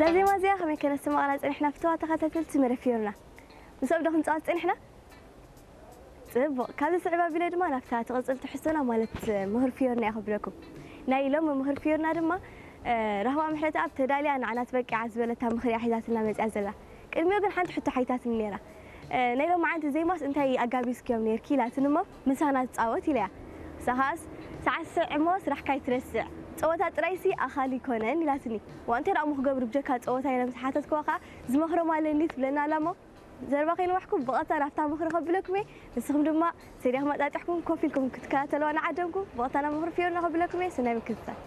እዛ ዜማ እዚኣ ከመይ ከነስማቕና ጸኒሕና ፍተዋ ተኸታተልቲ መደብ ፊዮርና? ምስኦም ዶ ክንጻወት ጸኒሕና? ጽቡቕ። ካብዚ ስዕብ ኣቢለ ድማ ናብታ ትቕጽል ትሕዝቶና ማለት ምኽሪ ፊዮርና እየ ከብለኩም። ናይ ሎሚ ምኽሪ ፊዮርና ድማ ራህዋ ምሕረተኣብ ተዳልያ ንዓና ትበቂዓ ዝበለታ ምኽሪ እያ ሒዛትና መጺኣ ዘላ። ቅድሚኡ ግን ሓንቲ ሕቶ ሓቲታትኒ ነይራ። ናይ ሎማዓንቲ ዜማስ እንታይ ኣጋቢዝክዮም ነይርኪ ኢላትኒ እሞ ምሳና ትጻወት ኢለያ። ንሳ ኸኣስ ሰዓት ስዕ እሞ ስራሕካ ኣይትረስዕ፣ ጸወታ ጥራይሲ ኣኻሊ ኣይኮነን ኢላትኒ። ዋንተ ደኣ እሞ ክገብሩ ብጀካ ጸወታ ኢለ ምስ ሓተትክዋ ኸኣ ዝመኽሮም ኣለኒ ትብለና ኣላ እሞ ዘረባ ከይነዋሕኩም ብቐጥታ ናብታ ምኽሪ ከብለኩም እየ። ንስኹም ድማ ሰዲኹም ኣጣጢሕኩም ኮፍ ኢልኩም ክትከታተልዋ ንዓደምኩም ብቐጥታ ናብ ምኽሪ ፊዮርና ከብለኩም እየ። ሰናይ ምክትታል።